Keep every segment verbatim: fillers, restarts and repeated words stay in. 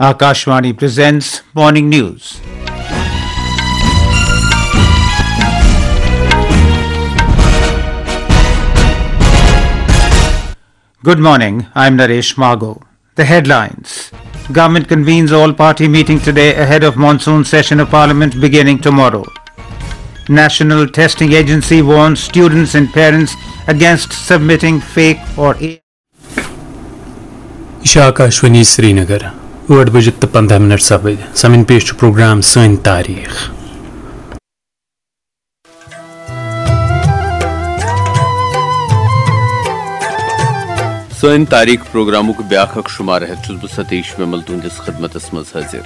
Akashvani presents morning news. Good morning, I'm Naresh Mago. The headlines. Government convenes all-party meeting today ahead of monsoon session of Parliament beginning tomorrow. National Testing Agency warns students and parents against submitting fake or. یہِ چھِ آکاشوانی سرینگر۔ ٲٹھ بجہِ تہٕ پنٛداہ minute سپٕدۍ۔ سامعیٖن، پیش چھُ programme سٲنۍ تاریخ۔ سٲنۍ تاریخ پروگرامُک بیاکھ اکھ شمارٕ ہٮ۪تھ چھُس بہٕ ستیش ومل تُہنٛدِس خدمتس منٛز حٲضِر۔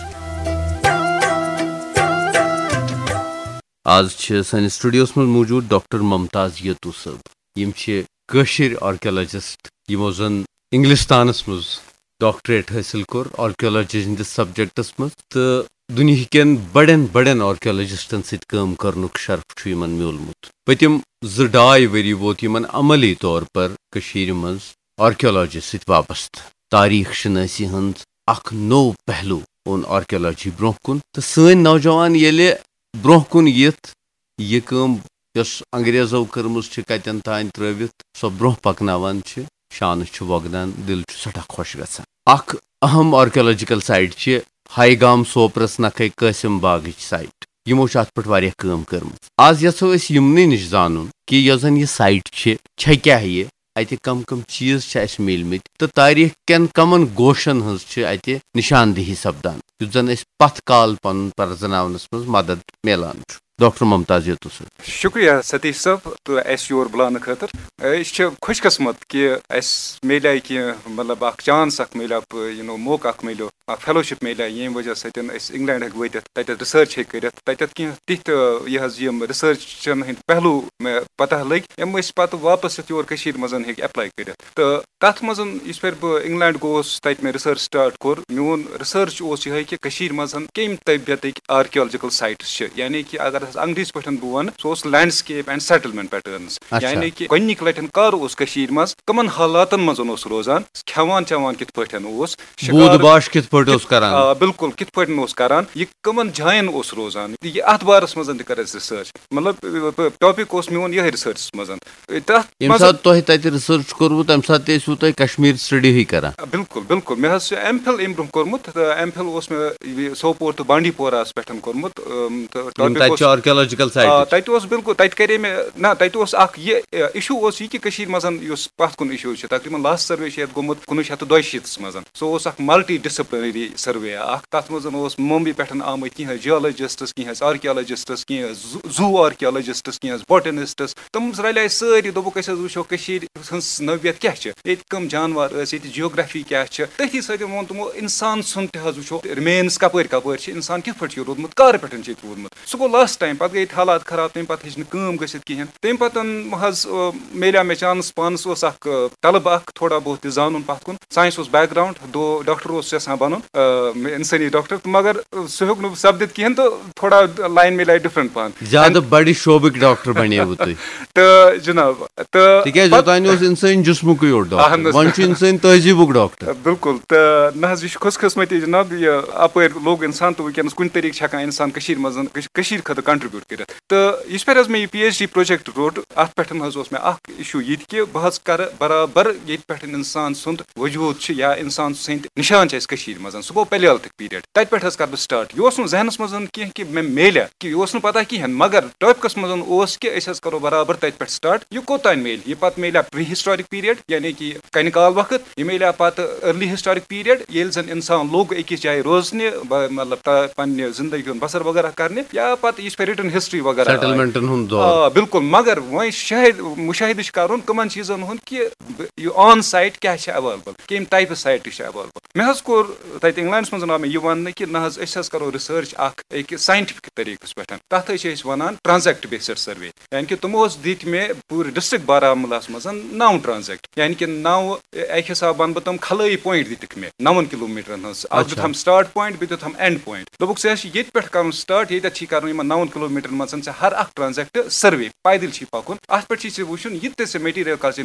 آز چھِ سٲنِس سٹوڈیوس منٛز موجود ڈاکٹر ممتاز یتو صٲب۔ یِم چھِ کٲشِر آرکیالوجسٹ، یِمو زن انگلستانس منٛز ڈاکٹریٹ حٲصِل کوٚر آرکیالوجی ہٕنٛدِس سبجیکٹس منٛز، تہٕ دُنیہکٮ۪ن بڑٮ۪ن بڑٮ۪ن آرکیالوجسٹن سۭتۍ کٲم کرنُک شرف چھُ یِمن میوٗلمُت۔ پٔتِم زٕ ڈاے ؤری ووت یِمن عملی طور پر کٔشیٖرِ منٛز آرکیالوجی سۭتۍ وابستہٕ۔ تاریخ شنٲسی ہٕنٛز اکھ نوٚو پہلو اوٚن آرکیالوجی برونٛہہ کُن، تہٕ سٲنۍ نوجوان ییٚلہِ برونٛہہ کُن یِتھ یہِ کٲم یۄس انگریزو کٔرمٕژ چھِ کتٮ۪ن تام ترٲوِتھ سۄ برونٛہہ پکناوان چھِ، شانہٕ چھُ وۄگدان، دِل چھُ سٮ۪ٹھاہ خۄش گژھان۔ اکھ اہم آرکیالوجیکل سائٹ چھِ ہاے گام سوپرس نکھے قاسم باغٕچ سائٹ۔ یِمو چھِ اتھ پٮ۪ٹھ واریاہ کٲم کٔرمٕژ۔ آز یژھو أسۍ یِمنٕے نِش زانُن کہِ یۄس زن یہِ سائٹ چھِ، چھےٚ کیاہ یہِ، اتہِ کم کم چیز چھِ اسہِ میلمٕتۍ تہٕ تاریخ کٮ۪ن کمن گوشن ہٕنٛز چھِ اتہِ نشاندہی سپدان، یُتھ زن اسہِ پتھ کال پنُن پرزناونس منٛز مدد میلان چھُ۔ ڈاکٹر ممتاز یتو صٲب۔ شکریہ ستیش صٲب تہٕ اسہِ یور بُلاونہٕ خٲطرٕ۔ أسۍ چھِ خوش قسمت کہِ اسہِ میلیو کینٛہہ، مطلب، اکھ چانس اکھ میلیو، یو نو، موقعہٕ اکھ میلیو، اکھ فیلوشپ میلیو، ییٚمہِ وجہ سۭتۍ أسۍ انگلینڈ ہیٚکۍ وٲتِتھ، تتٮ۪تھ ریسرچ ہیٚکۍ کٔرِتھ، تتٮ۪تھ کینٛہہ تِتھۍ، یہِ حظ، یِم ریسرچن ہٕنٛدۍ پہلو مےٚ پتہ لٔگۍ، یِم أسۍ پتہٕ واپس یتھ یور کٔشیٖرِ منٛز ہیٚکۍ ایپلاے کٔرِتھ۔ تہٕ تتھ منٛز یُس پھِرِ بہٕ انگلینڈ گوس، تتہِ مےٚ ریسرچ سٹارٹ کوٚر، میون ریسرچ اوس یِہے کہِ کٔشیٖرِ منٛز کمہِ طبیعتٕکۍ آرکیالوجیکل سایٹس چھِ، یعنی کہِ اگر أسۍ انگریزی پٲٹھۍ بہٕ ونہٕ، سُہ اوس لینڈسکیپ اینڈ سیٹلمنٹ پیٹرنز۔ اچھا۔ یعنی کہِ گۄڈنِکۍ لٹٮ۪ن کر اوس کٔشیٖرِ منٛز، کمن حالاتن منٛز اوس روزان، کھٮ۪وان چٮ۪وان کِتھ پٲٹھۍ اوس، شکار بوٗد باش کِتھ پٲٹھۍ اوس کران؟ آ، بِلکُل، کِتھ پٲٹھۍ اوس کران، یہِ کمن جاین اوس روزان، یہِ اتھ بارس منٛز تہِ کٔر اسہِ ریسرچ۔ مطلب، ٹاپک اوس میون یہے ریسرچس منٛز۔ تتھ ییٚمہِ منٛز ساتہٕ تۄہہِ تتہِ ریسرچ کوٚروٕ، تمہِ ساتہٕ تہِ ٲسوٕ تُہۍ کشمیر سٹڈی ہٕے کران؟ بِلکُل، بِلکُل۔ مےٚ حظ چھُ ایم فِل امہِ برونٛہہ کوٚرمُت، تہٕ ایم فِل اوس مےٚ یہِ سوپور تہٕ بانڈی پوراہس پٮ۪ٹھ کوٚرمُت۔ أم، تہٕ یِم ٹاپک تتہِ اوس چھِ آرکیالوجیکل آ، سائٹٕچ۔ تتہِ اوس بِلکُل، تتہِ کرے مےٚ، نہ، تتہِ اوس اکھ یہِ، اِشوٗ اوس یہِ کہِ کٔشیٖرِ منٛز یُس پتھ کُن اِشوٗ چھُ، تقریباً لاسٹ سروے چھُ یتھ گوٚمُت کُنوُہ شیٚتھ تہٕ دۄیہِ شیٖتس منٛز۔ سُہ اوس اکھ ملٹی ڈسپلنری سروے اکھ۔ تتھ منٛز اوس ممبئی پٮ۪ٹھ آمٕتۍ کینٛہہ جیولوجسٹس، کینٛہہ آرکیالوجسٹس، کینٛہہ زو آرکیالوجسٹس، کینٛہہ بوٹنسٹس۔ تِم رلے سٲری، دوٚپُکھ، أسۍ حظ وٕچھو کٔشیٖرِ ہٕنٛز نوعیت کیٛاہ چھِ، ییٚتہِ کٕم جانور ٲسۍ، ییٚتہِ جیوگرافی کیٛاہ چھِ۔ تٔتھی سۭتۍ ووٚن تِمو، انسان سُنٛد تہِ حظ وٕچھو، ریمینز کپٲرۍ کپٲرۍ چھِ، انسان کِتھ پٲٹھۍ چھُ روٗدمُت، کر پٮ۪ٹھ چھُ ییٚتہِ روٗدمُت۔ سُہ گوٚو لاسٹ ٹایم، پتہٕ گٔے ییٚتہِ حالات خراب، تمہِ پتہٕ ہیٚچ نہٕ کٲم گٔژھِتھ کِہینۍ۔ تمہِ پتہٕ حظ، آ، میلیو مےٚ چانس، پانس اوس اکھ، آ، طلبہٕ اکھ تھوڑا بہت تہِ زانُن پتھ کُن۔ ساینس اوس بیک گراؤنڈ، دو ڈاکٹر اوس یژھان بنُن، آ، انسٲنی ڈاکٹر، تہٕ مگر، آ، سُہ ہیوٚک نہٕ سپدِتھ کِہینۍ، تہٕ تھوڑا لائن میلیو ڈفرنٹ پہن۔ زیادٕ بڑِ شعبٕکۍ ڈاکٹر بنے وٕ تُہۍ۔ تہٕ جناب، تہٕ تِکیازِ پتہٕ اوتانۍ اوس انسٲنۍ جسمُکُے یوت ڈاکٹر، اہن حظ۔ وۄنۍ چھُ انسٲنۍ تہذیٖبُک ڈاکٹر۔ بِلکُل، تہٕ نہ حظ، یہِ چھُ خۄش قٕسمتی جناب، یہِ اپٲرۍ لوٚگ انسان، تہٕ وٕنکیٚنس کُنہِ طریٖقہٕ چھِ ہٮ۪کان انسان کٔشیٖرِ منٛز، کٔش-، کٔشیٖرِ خٲطرٕ کنٹریبیوٗٹ کٔرِتھ۔ تہٕ یِژھ پھِرِ حظ مےٚ یہِ پی ایچ ڈی پروجیکٹ روٚٹ، اتھ پٮ۪ٹھ حظ اوس مےٚ اکھ issue یہِ تہِ کہِ بہٕ حظ کرٕ برابر ییٚتہِ پٮ۪ٹھ انسان سُنٛد وجوٗد چھُ یا انسان سٕنٛدۍ نشان چھِ اَسہِ کٔشیٖرِ منٛز، سُہ گوٚو Paleolithic period۔ تَتہِ پٮ۪ٹھ حظ کرٕ بہٕ start۔ یہِ اوس نہٕ ذہنس منٛز کینٛہہ کہِ مےٚ میلیا، کہِ یہِ اوس نہٕ پتہ کِہینۍ، مگر ٹاپکس منٛز اوس کہِ أسۍ حظ کرو برابر تَتہِ پٮ۪ٹھ start۔ یہِ کوٚت تام میلہِ؟ یہِ پتہٕ میلیا pre historic period، یعنی کہِ کنہِ کال وقت، یہِ میلیا پتہٕ early historic period، ییٚلہِ زن انسان لوٚگ أکِس جایہِ روزنہِ، ب-، مطلب، تا-، پننہِ زندگی ہُنٛد بسر وغیرہ کرنہِ، یا پتہٕ یہِ چھِ written history وغیرہ آیہِ۔ سیٹلمنٹن ہُنٛد دور۔ آ، بِلکُل، مگر وۄنۍ شاہد، مُشاہدٕ چھِ کرُن کٕمن چیٖزن ہُنٛد کہِ ب-، یہِ on site کیٛاہ چھِ available، کمہِ type سایٹہٕ چھِ available۔ مےٚ حظ کوٚر تتہِ انگلینڈس منٛز آو مےٚ یہِ وننہٕ کہِ نہ حظ، أسۍ حظ کرو research اکھ أکِس scientific طریٖقس پٮ۪ٹھ، تتھ حظ چھِ أسۍ ونان transect based survey۔ یعنی کہِ تِمو حظ دِتۍ مےٚ پوٗرٕ ڈسٹرکٹ بارہمولاہس منٛز نو transect، یعنی کہِ نو، اکہِ حساب ونہٕ بہٕ تِم کھلٲیی point دِتِکھ مےٚ نون کلوٗمیٹرن ہٕنٛز۔ اکھ اچھا۔ دیُتہم start point، بیٚیہِ دیُتہم end point۔ دوٚپُکھ، ژےٚ حظ چھِ ییٚتہِ پٮ۪ٹھ کرُن start، ییٚتٮ۪تھ چھِ کرُن یِمن نون کلوٗمیٹرن منٛز ژےٚ ہر اکھ transect survey، پیدل چھِ پکُن۔ اتھ پٮ۪ٹھ چھِ ژےٚ وٕچھُن، یہِ تہِ ژےٚ material کر ژےٚ